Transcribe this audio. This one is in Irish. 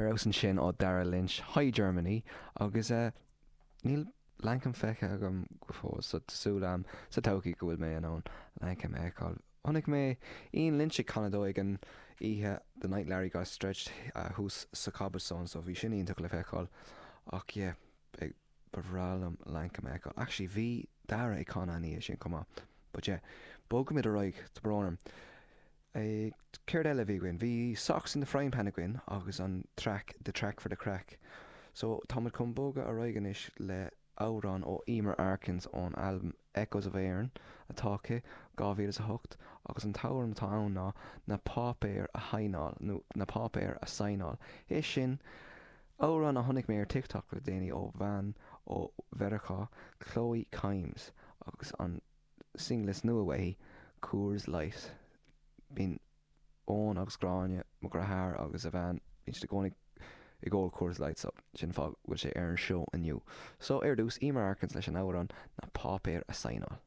Ar fheabhas ansin ó Dara Lynch, Hi Germany, agus níl Lankum feicthe agam go fóill so tá súil agam sa todhchaí go bhfuil mé in ann Lankum a fheiceáil. Chonaic mé Ian Lynch ag canadh dó ag an oíche The Night Larry Got Stretched thuas sa Cobblestone so bhí sin iontach le feiceáil ach yeah beidh ba bhreá liom Lankum a fheiceáil. Actually bhí Dara ag canadh an oíche sin chomh maith but yeah bogfaimid ar aghaidh, tá brón orm. Céard eile a bhí againn? Bhí Socks in the Frying Pan againn agus an traic The Track for the Craic. So táimid chun bogadh ar aghaidh anois le amhrán ó Eimear Arkins ón albam Echoes of Éirinn atá aici, 2008, agus an t-amhrán atá ann ná Na Páipéir a Shaighneáil nó Na Páipéir a Saighneáil. É sin amhrán a chonaic mé ar TikTok le déanaí ó bhean ó Mheiriceá, Chloe Kimes, agus an single is nua uaithi, Coors Light. Bíonn Eoin agus Gráinne, mo dheartháir agus a bhean, bíonn siad i gcónaí ag ól Coors Light so sin an fáth go bhfuil sé ar an seó inniu. So ar dtús, Eimear Arkins leis an amhrán Na Páipéir a Saighneáil.